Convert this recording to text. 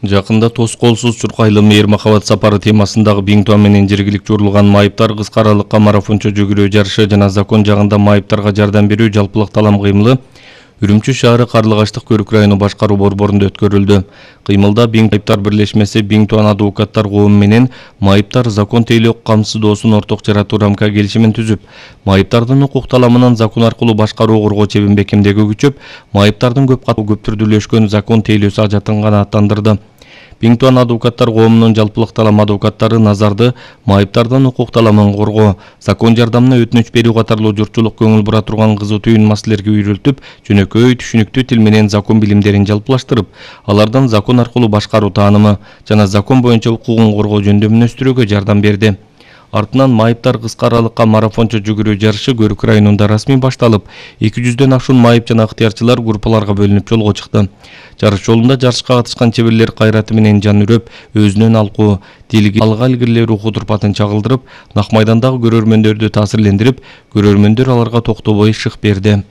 Жакында тоскоолсуз чуркайлы мээр махабат сапары темасындагы биңтуа менен жергиликчи урулган майыптар кыска аралыкка марафончо жүгүрүү жарышы жана закон жагында майыптарга жардам берүү жалпылык талам кыймылы Үрүмчү шаары Карлыгаштык Көрүк району башкаруу борборунда өткөрүлдү. Кыймылда майыптар бирлешмеси Биңтуан адвокаттар коому менен майыптар закон тейлөө камсыздоосун орток жаратуу рамка келишимин түзүп, майыптардын укук таламынан закон аркылуу башкаруу коргоо чебин бекемдеги күчөп, майыптардын көп түрдүүлөшкөн закон тейлөөсү ажатын канааттандырды. Биңтуан адвокаттар коомунун жалпылык талам адвокаттары назарды майыптардын укук таламын коргоо, закон жардамына өтүнүч берүү катарлуу журтчулук көңүл бура турган кызуу түйүн маселелерге үйрөлтүп, жөнөкөй түшүнүктүү тил менен закон билимдерин жалпылаштырып, алардан закон аркылуу башкаруу таанымы жана закон боюнча укугун коргоо жөнүндө мүнөстүрүүгө жардам берди. Артынан майыптар кыска аралыкка марафончо жүгүрүү жарышы Көрүк районунда расмий башталып, 200дөн ашуун майып жана ыктыярчылар группаларга бөлүнүп жолго чыкты. Жарыш жолунда жарышка катышкан чеберлер кайраты менен жан үрөп, өзүнөн алкуу, тилге алга илгирилээ руху турпатын чагылдырып, нак майдандагы көрөрмөндөрдү таасирлендирип, көрөрмөндөр аларга токтобой шык берди.